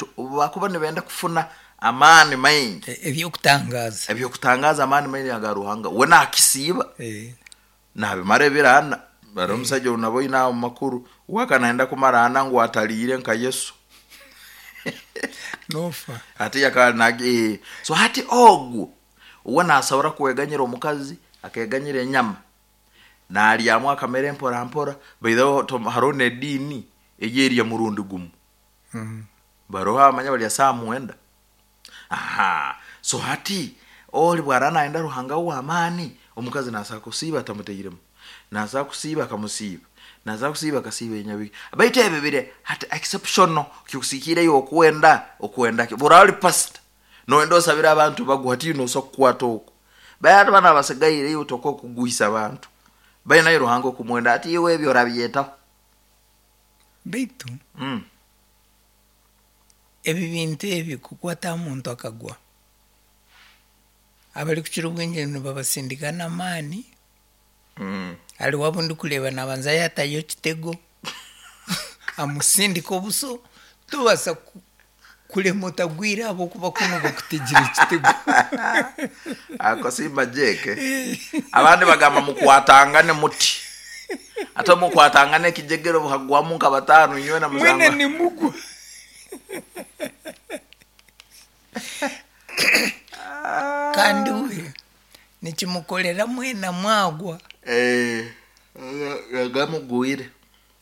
Abantu obu bakuba nibenda kufuna amaani maingi, Eby'okutangaaza. Eby'okutangaaza, amaani maingi aga Ruhanga, we naakisiiba. Naabimara ebiro ana. Hariho omushaija ou naboine aha omu makuru, we akaba naayenda kumara ana ngu atariire nka Yesu. Noofa. Hati akaba naagi so hati ogwo we naasobora kweganyira omukazi, akeeganyira enyama, naaryamu akamere mpora mpora. By the way, hariho n'ediini ey'erya murundi gumwe. Bariho abamanya barya saaha mwenda. Aha, so hati ori bw'araba naayenda Ruhanga we ow'amaani, omukazi naasobola kusiiba atamuteiremu, naasobola kusiiba akamusiiba, naasobola kusiiba akasiiba enyabigi. Baitu ebyo biri hati exceptional, kikusiikiire iwe okwenda, okwenda ki? Bw'oraba ori pasita, nooyenda osabire abantu bagwe, hati iwe noosobola kukwata okwo. Baitu hati banu abasigaire iwe tokwo kugwisa abantu, baine Ruhanga okumwenda, hati iwe ebyo orabyetaho. Baitu ebi bintu ebi kukwata aha muntu akagwa, abarikukira obwingi nibabasindika n'amaani, hariho abu ndikureeba naabanza yaatayo ekitego, amusindika obuso, tobaasa kurema otagwire ahabw'okuba kunu bakutegire ekitego. Ako simba Jake. Abandi bagamba mukwatangane muti. Ate mukwatangane ekijegere obuhagwamu nka bataano inywena Mwena muzangwa. nimugwa. Kandi we nikimukorera mwena mwagwa. Eh, gamugwire.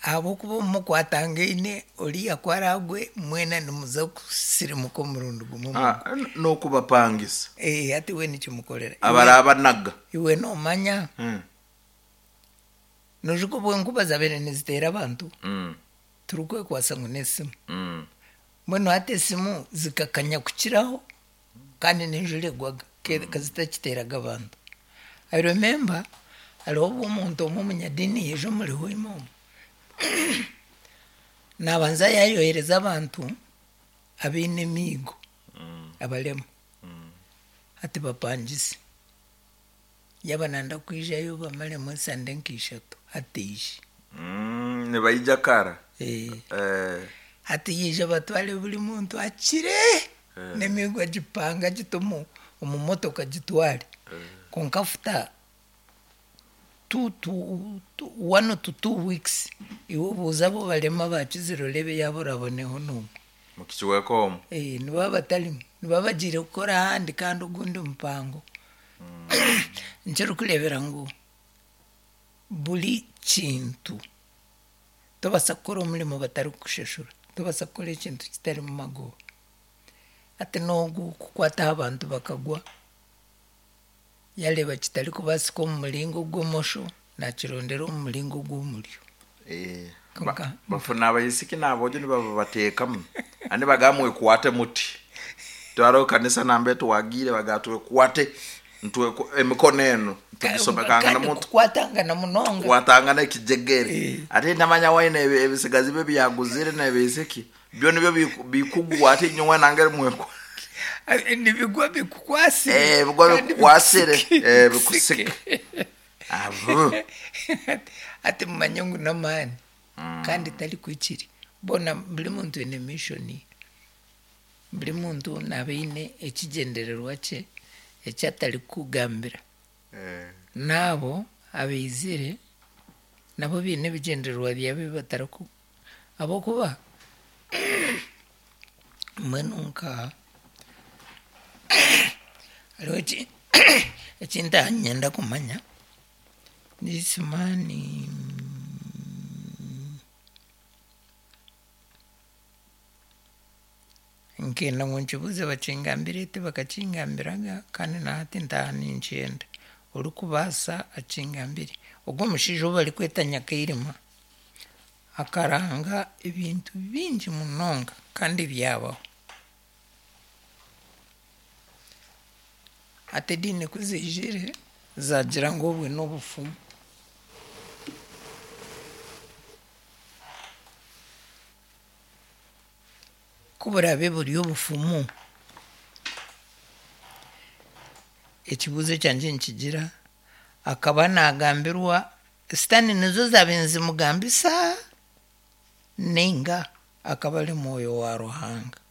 Ahabw'okuba obu mukwatangaine oriya ku araagwe mwena nimuza kusirimuka omurundi gumwe mugwe. Ah, n'okubapangisa. Eh, hati we nikimukorera. Iwe, Abarabanaga. iwe noomanya, noijuka obu enkuba zaabaire niziteera abantu, turikwekwasa ngu n'esimu. Mbwenu hati esimu zikakanya kukiraho kandi n'enjura egwaga ka zitakiteeraga abantu. I remember hariho obu omuntu omwe omunyadiini yaija omuri Hoima omu, naabanza yaayohereza abantu abaine emiigo abarema hati bapangise. Yaaba nayenda kwijayo bamaremu esande nka ishatu hati aije. Nibaija kara. Hati yaija batware buri muntu akire n'emiigo agipange agite omu omu motoka agitware. Kwonka after two to two one to two weeks iwe obuuze abu barema abakizire oreebe yaaba oraboneho n'omwe. Mukicweka omu. Nibaba batarimu, nibaba bagiire kukora ahandi kandi ogundi mupango. Nikyo orikureebera ngu buri kintu tobaasa kukora omurimo batarikukushashura, tobaasa kukora ekintu kitarimu magoba. Hati n'ogu kukwata aha bantu bakagwa, yareeba kitarikubaasika omu muringo ogw'omosho, naakirondera omu muringo ogw'omuryo. Kwonka Bafuna abaisiki n'aboojo nibabateekamu kandi nibagamba mwekwate muti. Twara kanisa nambere twagiire bagamba twekwate emikono enu tugisomekangana kandi muti. kukwatangana munonga. Kukwatangana ekijegere. Ate ntamanya waine ebisigazi bye ebi yaguzire n'ebiisiki byo nibyo bikugwa ate inywe mwena ngeri mwekwa. Nibigwa bikukwasire. Bigwa kandi bikukwasire. bikusike. Bikusike. Abu. Hati mumanye ngu n'amaani kandi tarikwikiri. Boona buri muntu aine mission ye. Buri muntu naaba aine ekigyendererwa kye eki atarikukugambira. N'abo abaizire nabo baine ebigyendererwa byabo ebi batariku ahabw'okuba mbwenu nka hariho eki ntanyenda kumanya, this man nkenda ngu nkibuuze bakingambire tibakakingambiraga kandi na hati ntaaha ninkyenda. Orikubaasa akingambire. Ogu omushaija ou barikweta Nyakairima akaranga ebintu bingi munonga kandi byabaho. Hati ediini ku ziijire zaagira ngu obwe n'obufumu. Ku buraabe buri obufumu, ekibuuzo ekyangye nikigira akaba naagambirwa sitaane nizo zaabaire nizimugambisa ninga akaba ari mwoyo wa Ruhanga?